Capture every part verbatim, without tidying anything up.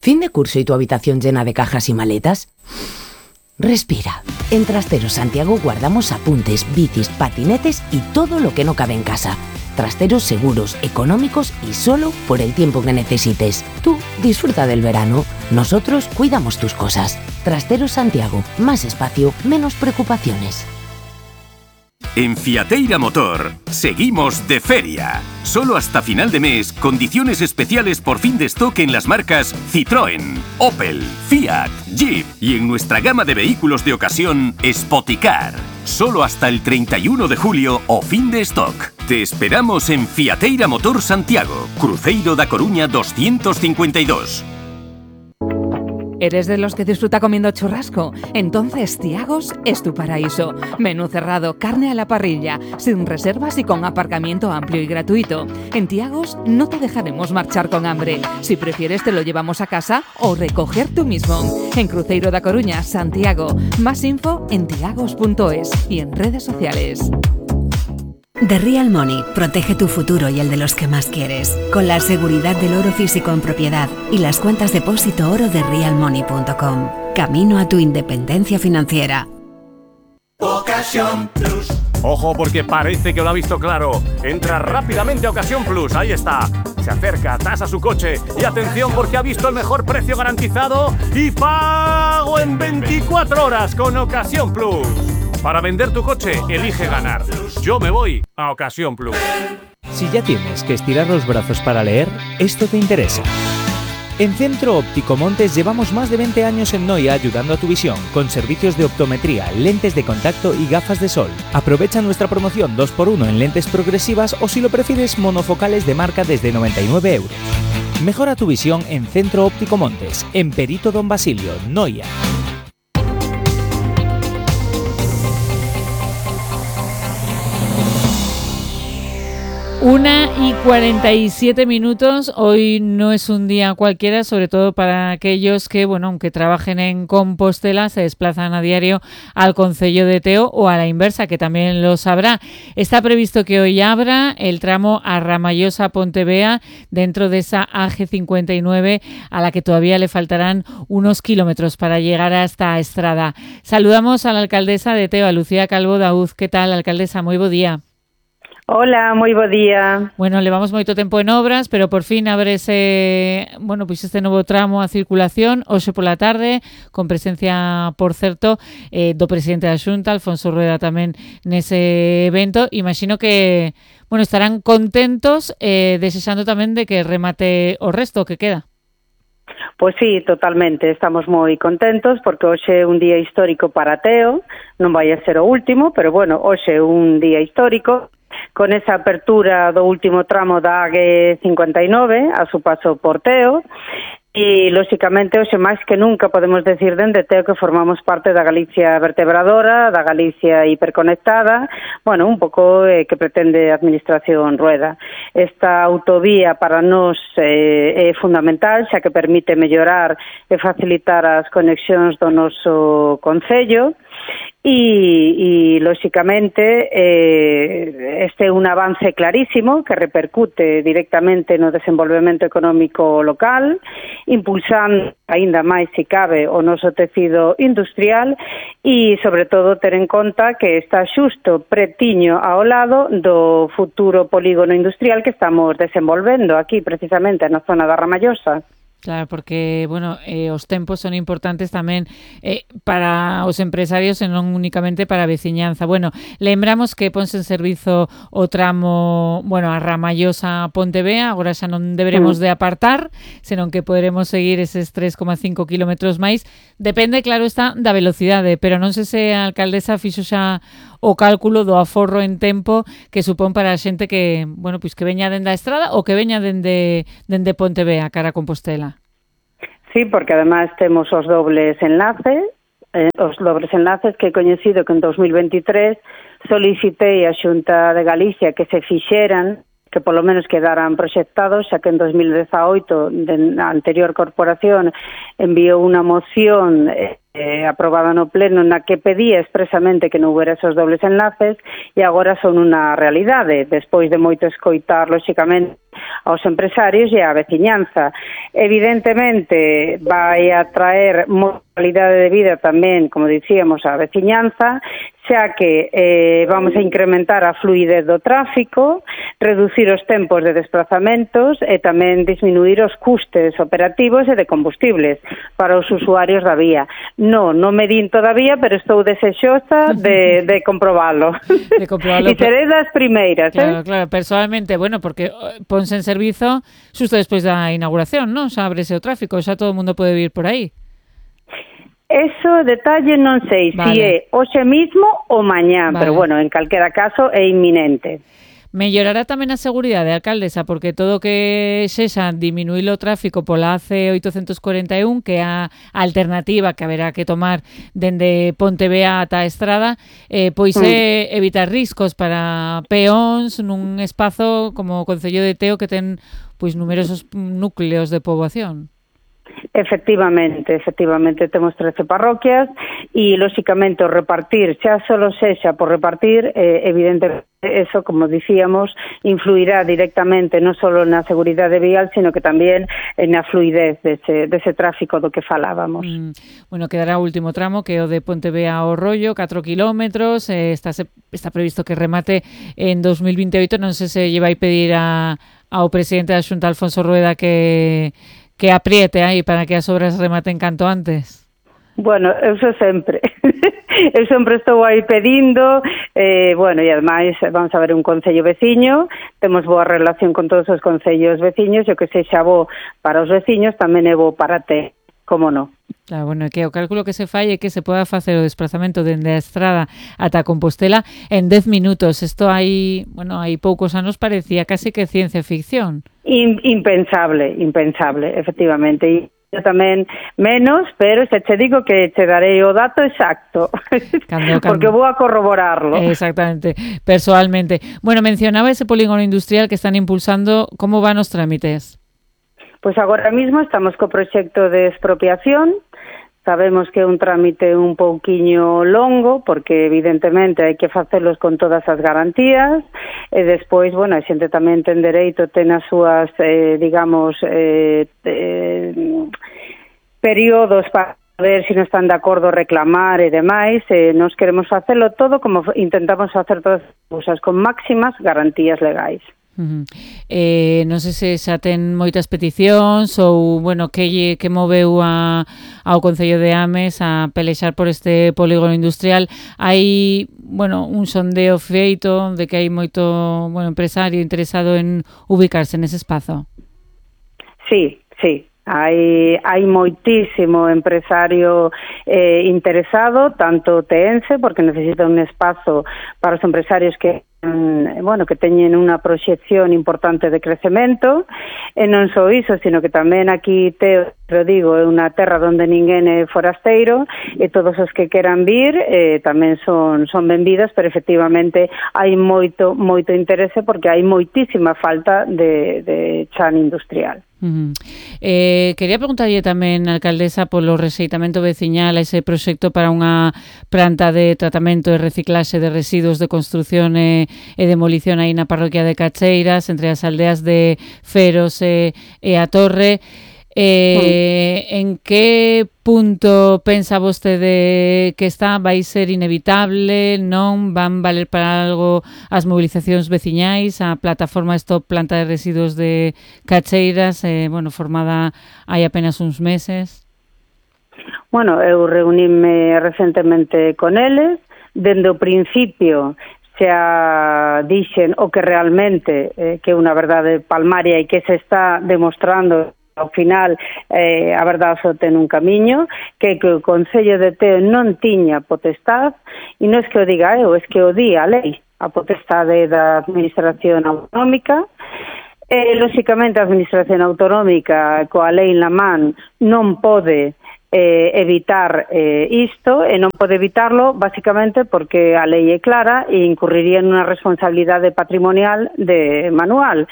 ¿Fin de curso y tu habitación llena de cajas y maletas? Respira. En Trasteros Santiago guardamos apuntes, bicis, patinetes y todo lo que no cabe en casa. Trasteros seguros, económicos y solo por el tiempo que necesites. Tú disfruta del verano. Nosotros cuidamos tus cosas. Trasteros Santiago. Más espacio, menos preocupaciones. En Fiateira Motor, seguimos de feria. Solo hasta final de mes, condiciones especiales por fin de stock en las marcas Citroën, Opel, Fiat, Jeep y en nuestra gama de vehículos de ocasión, Spoticar. Solo hasta el treinta y uno de julio o fin de stock. Te esperamos en Fiateira Motor Santiago, Cruzeiro da Coruña doscientos cincuenta y dos. ¿Eres de los que disfruta comiendo churrasco? Entonces Thiagos es tu paraíso. Menú cerrado, carne a la parrilla, sin reservas y con aparcamiento amplio y gratuito. En Thiagos no te dejaremos marchar con hambre. Si prefieres te lo llevamos a casa o recoger tú mismo. En Cruzeiro da Coruña, Santiago. Más info en thiagos punto es y en redes sociales. The Real Money protege tu futuro y el de los que más quieres, con la seguridad del oro físico en propiedad y las cuentas depósito oro de real money punto com. Camino a tu independencia financiera. Ocasión Plus. Ojo, porque parece que lo ha visto claro. Entra rápidamente a Ocasión Plus, ahí está. Se acerca, tasa su coche y atención porque ha visto el mejor precio garantizado y pago en veinticuatro horas con Ocasión Plus. Para vender tu coche, elige ganar. Yo me voy a Ocasión Plus. Si ya tienes que estirar los brazos para leer, esto te interesa. En Centro Óptico Montes llevamos más de veinte años en Noia ayudando a tu visión, con servicios de optometría, lentes de contacto y gafas de sol. Aprovecha nuestra promoción dos por uno en lentes progresivas o si lo prefieres monofocales de marca desde noventa y nueve euros. Mejora tu visión en Centro Óptico Montes, en Perito Don Basilio, Noia. Una y cuarenta y siete minutos. Hoy no es un día cualquiera, sobre todo para aquellos que, bueno, aunque trabajen en Compostela, se desplazan a diario al concello de Teo o a la inversa, que también lo sabrá. Está previsto que hoy abra el tramo a Ramallosa-Pontevea dentro de esa A G cincuenta y nueve, a la que todavía le faltarán unos kilómetros para llegar hasta Estrada. Saludamos a la alcaldesa de Teo, a Lucía Calvo Dauz. ¿Qué tal, alcaldesa? Moi bo día. Hola, moi bo día. Bueno, levamos moito tempo en obras, pero por fin abre ese, bueno, pois este novo tramo a circulación hoxe pola tarde, con presencia, por certo, eh, do presidente da Xunta, Alfonso Rueda, tamén nese evento. Imagino que, bueno, estarán contentos, eh, desexando tamén de que remate o resto que queda. Pois sí, totalmente, estamos moi contentos porque hoxe é un día histórico para Teo, non vai a ser o último, pero bueno, hoxe é un día histórico, con esa apertura do último tramo da A G cincuenta y nueve a su paso por Teo e, lóxicamente, hoxe máis que nunca podemos decir dende Teo que formamos parte da Galicia vertebradora, da Galicia hiperconectada, bueno, un pouco eh, que pretende a Administración Rueda. Esta autovía para nós eh, é fundamental, xa que permite mellorar e facilitar as conexións do noso concello, E, e lóxicamente, eh, este é un avance clarísimo que repercute directamente no desenvolvemento económico local, impulsando aínda máis, se cabe, o noso tecido industrial e, sobre todo, ter en conta que está xusto pretiño ao lado do futuro polígono industrial que estamos desenvolvendo aquí, precisamente, na zona da Ramallosa. Claro, porque, bueno, eh, os tempos son importantes tamén eh, para os empresarios e non únicamente para a veciñanza. Bueno, lembramos que ponse en servizo o tramo, bueno, a Ramallosa a Pontevea, agora xa non deberemos de apartar, senón que poderemos seguir eses tres coma cinco kilómetros máis. Depende, claro, está da velocidade, pero non sei se a alcaldesa fixo xa o cálculo do aforro en tempo que supón para a xente que, bueno, pois que veña dende a Estrada ou que veña dende, dende Pontevea, cara a Compostela. Sí, porque además temos os dobles enlaces, eh, os dobles enlaces que he coñecido que en dos mil veintitrés solicitei a Xunta de Galicia que se fixeran, que polo menos quedaran proxectados, xa que en dos mil dezaoito a anterior corporación enviou unha moción eh, eh, aprobada no pleno na que pedía expresamente que non houbera esos dobles enlaces e agora son unha realidade, despois de moito escoitar, lóxicamente, aos empresarios e á veciñanza. Evidentemente, vai a traer moita calidade de vida tamén, como dicíamos, á veciñanza, xa que eh, vamos a incrementar a fluidez do tráfico, reducir os tempos de desplazamentos e tamén disminuir os custes operativos e de combustibles para os usuarios da vía. No, non me din todavía, pero estou desexosa de, de comprobalo. De comprobalo. E seré das primeiras, claro, eh? Claro, personalmente, bueno, porque ponse en servizo xusto despois da inauguración, non? Xa ábrese o tráfico, xa todo o mundo pode vir por aí. Eso, detalle, non sei vale. Si é hoxe mismo ou mañá, vale. Pero bueno, en calquera caso é inminente. Mellorará tamén a seguridade, alcaldesa, porque todo que sexa diminuir o tráfico pola A C oitocentos cuarenta e un, que é a alternativa que haberá que tomar dende Pontevea ata a Estrada, eh, pois mm. é evitar riscos para peóns nun espazo como o Concello de Teo que ten pois numerosos núcleos de poboación. Efectivamente, efectivamente, temos trece parroquias e, lóxicamente, o repartir, xa solo sexa por repartir, eh, evidentemente, eso, como dicíamos, influirá directamente non só na seguridade vial, sino que tamén na fluidez dese, dese tráfico do que falábamos. Mm, bueno, quedará o último tramo, que é o de Pontevea ao Rollo, catro kilómetros, eh, está, está previsto que remate en dos mil vinte e oito, non sei se lle vai pedir a, ao presidente da Xunta, Alfonso Rueda, que... que apriete aí para que as obras rematen canto antes. Bueno, eu sou sempre. Eu sempre estou aí pedindo, eh, bueno, e ademais vamos a ver un concello veciño, temos boa relación con todos os concellos veciños, e o que sexa bo para os veciños tamén é bo para te, como non. Claro, bueno, que o cálculo que se fai é que se poda facer o desplazamento dende a Estrada ata Compostela en dez minutos. Isto hai, bueno, hai poucos anos parecía casi que ciencia ficción. In, impensable, impensable, efectivamente. E eu tamén menos, pero se che digo que che darei o dato exacto, cando, cando. Porque vou a corroborarlo. Exactamente, personalmente. Bueno, mencionaba ese polígono industrial que están impulsando. Como van os trámites? Pois agora mismo estamos co proxecto de expropiación. Sabemos que é un trámite un pouquiño longo, porque evidentemente hai que facelos con todas as garantías, e despois, bueno, a xente tamén ten dereito, ten as súas, eh, digamos, eh, eh, períodos para ver se non están de acordo reclamar e demais, e nos queremos facelo todo como intentamos facer todas as cousas, con máximas garantías legais. Uh-huh. Eh, non sei se xa ten moitas peticións ou, bueno, que, que moveu a, ao Concello de Ames a pelexar por este polígono industrial. Hai, bueno, un sondeo feito de que hai moito, bueno, empresario interesado en ubicarse nese espazo. Sí, sí. Hai, hai moitísimo empresario eh, interesado, tanto teense, porque necesita un espazo para os empresarios que bueno, que teñen unha proxección importante de crecemento, e non só iso, sino que tamén aquí, te lo digo, é unha terra onde ninguén é forasteiro, e todos os que queran vir eh, tamén son, son benvidas, pero efectivamente hai moito, moito interese, porque hai moitísima falta de, de chan industrial. Uh-huh. Eh, quería preguntarlle tamén, alcaldesa, polo rexeitamento veciñal a ese proxecto para unha planta de tratamento e reciclaxe de residuos de construción e, e demolición aí na parroquia de Cacheiras, entre as aldeas de Feros e, e a Torre. Eh, en que punto pensa vostede que está? Vai ser inevitable? Non? Van valer para algo as movilizacións veciñais? A plataforma Stop Planta de Residuos de Cacheiras, eh, bueno, formada hai apenas uns meses. Bueno, eu reuníme recentemente con eles. Dende o principio xa dixen o que realmente eh, que é unha verdade palmaria e que se está demostrando. Ao final, eh, a verdade só ten un camiño, que, que o Concello de Teo non tiña potestad, e non é que o diga eu, é que o di a lei, a potestade da Administración Autonómica. E, lóxicamente, a Administración Autonómica, coa lei en la man, non pode eh, evitar eh, isto, e non pode evitarlo, basicamente, porque a lei é clara e incurriría nunha responsabilidade patrimonial de manual.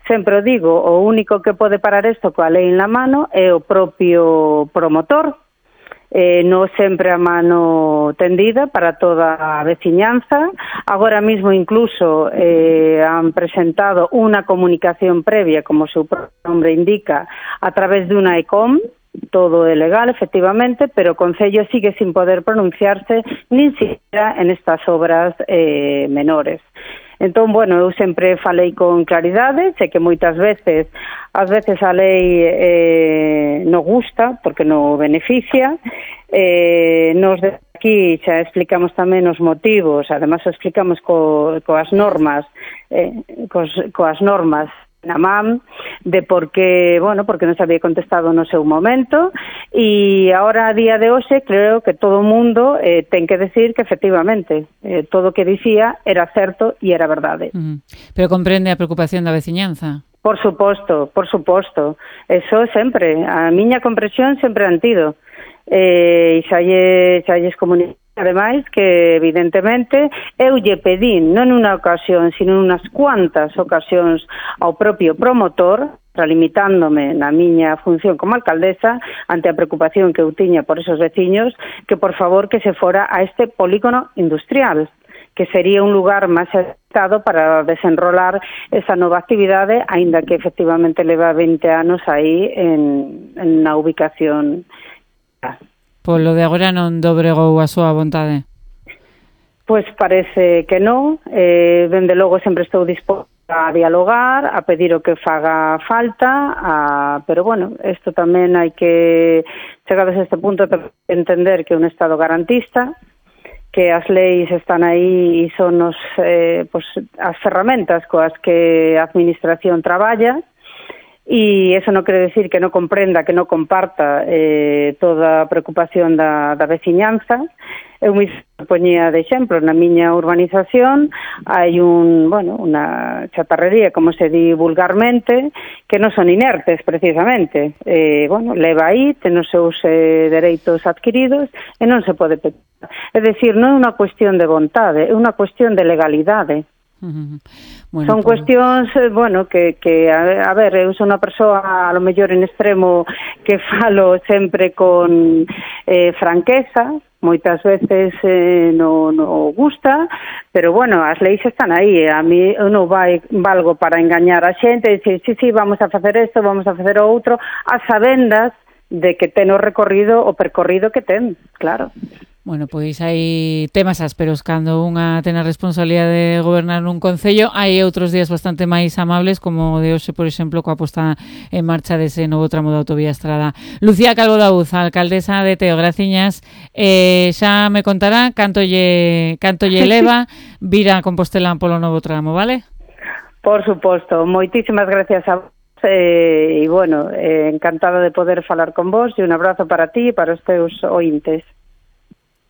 Sempre o digo, o único que pode parar isto coa lei en la mano é o propio promotor, eh, no sempre a mano tendida para toda a veciñanza. Agora mismo incluso eh, han presentado unha comunicación previa, como o seu nombre indica, a través de unha ECOM. Todo é legal, efectivamente, pero o Concello sigue sin poder pronunciarse nin siquiera en estas obras eh, menores. Entón, bueno, eu sempre falei con claridade, sei que moitas veces, ás veces a lei eh, non gusta, porque non beneficia, eh, nos de aquí xa explicamos tamén os motivos, además o explicamos co, coas normas, eh, cos, coas normas na M A M, de por que, bueno, porque non se había contestado no seu momento, e agora a día de hoxe creo que todo o mundo eh, ten que decir que efectivamente eh, todo o que dicía era certo e era verdade. Mm. Pero comprende a preocupación da veciñanza? Por suposto, por suposto. Eso sempre, a miña comprensión sempre han tido. Eh, e xa lle, xa lles comuniquei, ademais, que evidentemente eu lle pedín, non unha ocasión, sino unas cuantas ocasións ao propio promotor, limitándome na miña función como alcaldesa, ante a preocupación que eu tiña por esos veciños, que por favor que se fora a este polígono industrial, que sería un lugar máis adecuado para desenrolar esa nova actividade, aínda que efectivamente leva vinte anos aí en, en na ubicación. Polo de agora non dobregou a súa vontade? Pois parece que non. Eh, dende logo sempre estou disposta a dialogar, a pedir o que faga falta, a... pero bueno, isto tamén hai que, chegados a este punto, entender que é un Estado garantista, que as leis están aí e son os, eh, pues, as ferramentas coas que a administración traballa, e eso non quere decir que non comprenda, que non comparta eh, toda a preocupación da, da veciñanza. Eu me poñía de exemplo, na miña urbanización hai un, bueno, unha chatarrería, como se di vulgarmente, que non son inertes precisamente. Eh, bueno, leva aí, ten os seus eh, dereitos adquiridos e non se pode pedir. É dicir, non é unha cuestión de vontade, é unha cuestión de legalidade. Uh-huh. Bueno, son pues... cuestións, bueno, que, que a, a ver, eu son unha persoa a lo mellor en extremo que falo sempre con eh, franqueza, moitas veces eh, non no gusta, pero bueno, as leis están aí, a mí eu non vai, valgo para engañar a xente e dicir, sí, sí, vamos a facer isto, vamos a facer o outro, a sabendas de que ten o recorrido, o percorrido que ten, claro. Bueno, pois hai temas ásperos cando unha ten a responsabilidade de gobernar nun concello, hai outros días bastante máis amables, como o de hoxe, por exemplo, coa posta en marcha dese novo tramo da autovía Estrada. Lucía Calvo Daúz, alcaldesa de Teo, graciñas. Eh, xa me contará canto lle, canto lle leva vir a Compostela polo novo tramo, vale? Por suposto, moitísimas gracias a vos. Eh, e bueno, eh, encantada de poder falar con vos e un abrazo para ti e para os teus ointes.